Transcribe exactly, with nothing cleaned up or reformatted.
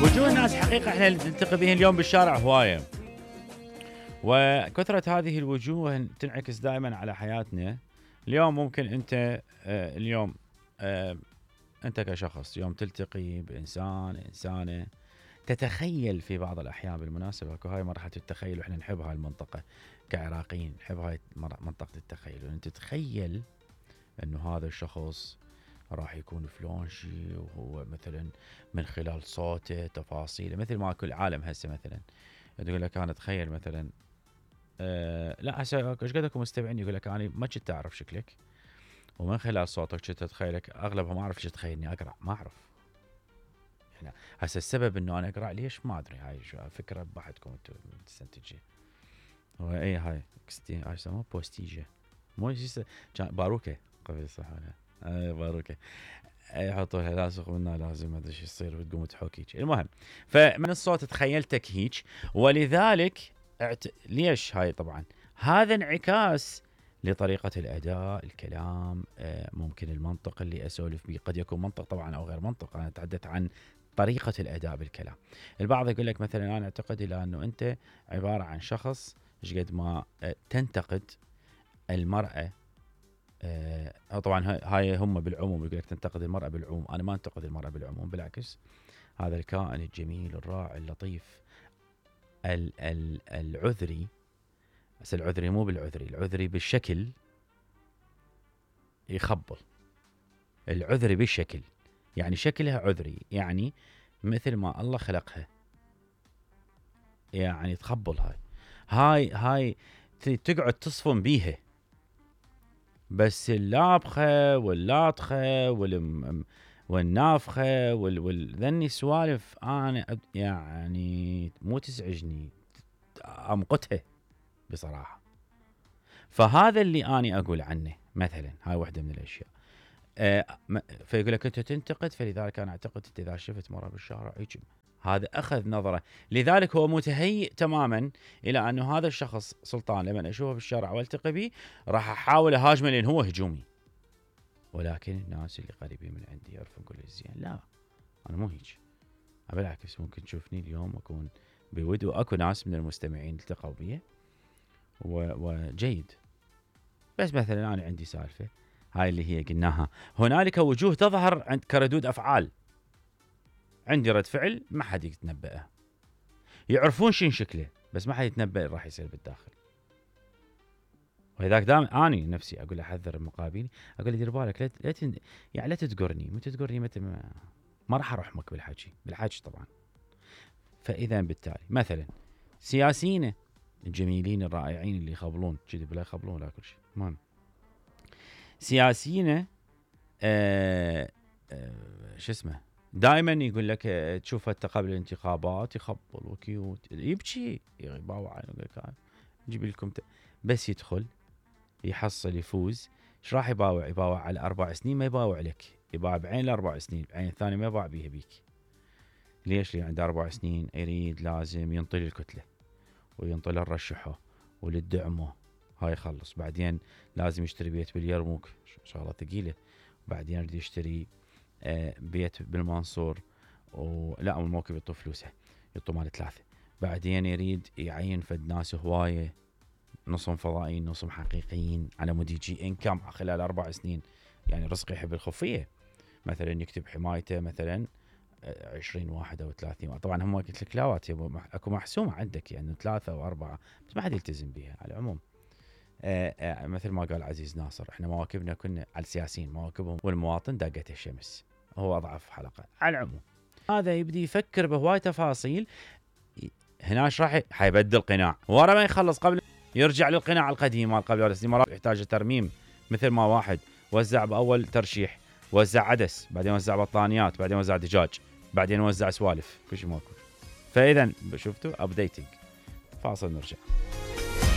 وجوه الناس حقيقة احنا نلتقي بهم اليوم بالشارع هواية، وكثرة هذه الوجوه تنعكس دائما على حياتنا. اليوم ممكن انت آه اليوم آه انت كشخص يوم تلتقي بانسان انسانة تتخيل في بعض الاحيان، بالمناسبة هاي مرحلة التخيل واحنا نحب هاي المنطقة كعراقيين، نحب هاي منطقة التخيل، وانت تتخيل انه هذا الشخص راح يكون فلان شيء، وهو مثلا من خلال صوته تفاصيله، مثل ما كل عالم هسه مثلا تقول لك انا اتخيل مثلا أه لا هسه ايش قد اكو مستمعين يقول لك انا ما كنت اعرف شكلك، ومن خلال صوتك كنت اتخيلك، اغلبها ما اعرف ايش تخيلني اقرا، ما اعرف يعني هسه السبب انه انا اقرا ليش ما ادري، هاي فكره بحثكم انتم تستنتجي. هو اي هاي اكستي هاي يسموها بوستيجه، مو باروكه قبل صح ولا اي باروكه، يحطوا لها لاصق منها لازم ما ادري ايش يصير وتقوم تحوك. المهم فمن الصوت تخيلتك هيك، ولذلك اعت... ليش هاي طبعا هذا انعكاس لطريقة الأداء، الكلام، ممكن المنطق اللي أسولف به قد يكون منطق طبعا أو غير منطق، أنا أتحدث عن طريقة الأداء بالكلام. البعض يقول لك مثلا أنا أعتقد إلى أنه أنت عبارة عن شخص ايش قد ما تنتقد المرأة، أه طبعا هاي هم بالعموم يقول لك تنتقد المرأة بالعموم، أنا ما أنتقد المرأة بالعموم، بالعكس هذا الكائن الجميل الرائع اللطيف ال ال العذري، بس العذري مو بالعذري، العذري بالشكل يخبل، العذري بالشكل يعني شكلها عذري، يعني مثل ما الله خلقها، يعني تخبل هاي هاي هاي تقعد تصفن بيها، بس اللابخة واللاطخة والم والنافخة وال وال ذني سوالف انا يعني مو تزعجني، امقتها بصراحة. فهذا اللي اني اقول عنه مثلا، هاي واحدة من الاشياء. أه فيقول لك انت تنتقد، فلذلك انا اعتقد انت اذا شفت مرة بالشارع هيك، هذا اخذ نظرة، لذلك هو متهيئ تماما الى انه هذا الشخص سلطان لما اشوفه بالشارع والتقي به راح احاول اهاجمه لان هو هجومي، ولكن الناس اللي قريبين من عندي يعرفون كل زين، لا انا مو هيك، بالعكس ممكن تشوفني اليوم اكون بود، واكو ناس من المستمعين التقوا بي وجيد، بس مثلا انا عندي سالفه هاي اللي هي قلناها، هنالك وجوه تظهر عند كردود افعال، عندي رد فعل ما حد يتنبأه، يعرفون شين شكله بس ما حد يتنبأ راح يصير بالداخل. وهذاك دام اني نفسي اقول احذر المقابلين، اقول له دير بالك لا لا تن... يعني لا تتقرني، متى تقرني متى ما, ما راح ارحمك بالحكي، بالحكي طبعا. فاذا بالتالي مثلا سياسيين الجميلين الرائعين اللي يخبلون كذي بلا يخبلون لا كل شيء، المهم سياسيين آه آه شو اسمه دائما يقول لك تشوفه قبل الانتخابات يخبل وكيوت يبكي يباوع، يقول لك نجيب لكم ت... بس يدخل يحصل يفوز، ايش راح يباوع؟ يباوع على اربع سنين، ما يباوع لك، يباوع بعين الاربع سنين، بعين الثاني ما يباوع بيها بيك. ليش؟ لان عنده اربع سنين يريد لازم ينطي الكتله وينطي الرشحه وللدعمه، هاي يخلص، بعدين لازم يشتري بيت باليرموك شغله ثقيله، بعدين يريد يشتري آه بيت بالمنصور، ولا الموكب يطو فلوسه يطو مال ثلاثه، بعدين يريد يعين فد ناس هوايه، نصهم فضائيين نصهم حقيقيين، على مود يجي انكم خلال اربع سنين، يعني رزق يحب الخفيه، مثلا يكتب حمايته مثلا عشرين واحد او ثلاثين، طبعا هم قلت لك لا اكو محسومه عندك يعني ثلاثه او اربعه، بس ما حد يلتزم بها على العموم. آآ آآ مثل ما قال عزيز ناصر، احنا مواكبنا كنا على السياسيين مواكبهم والمواطن داقته الشمس، هو اضعف حلقه على العموم. هذا يبدي يفكر بهواي تفاصيل، هنا ايش راح حيبدل قناع، ورا ما يخلص قبل يرجع للقناع القديم مال قبل اربع سنين، مرات يحتاج ترميم، مثل ما واحد وزع باول ترشيح وزع عدس، بعدين وزع بطانيات، بعدين وزع دجاج، بعدين وزع سوالف، كل شيء ماكو. فاذا شفتوا ابديتنج، فاصل نرجع.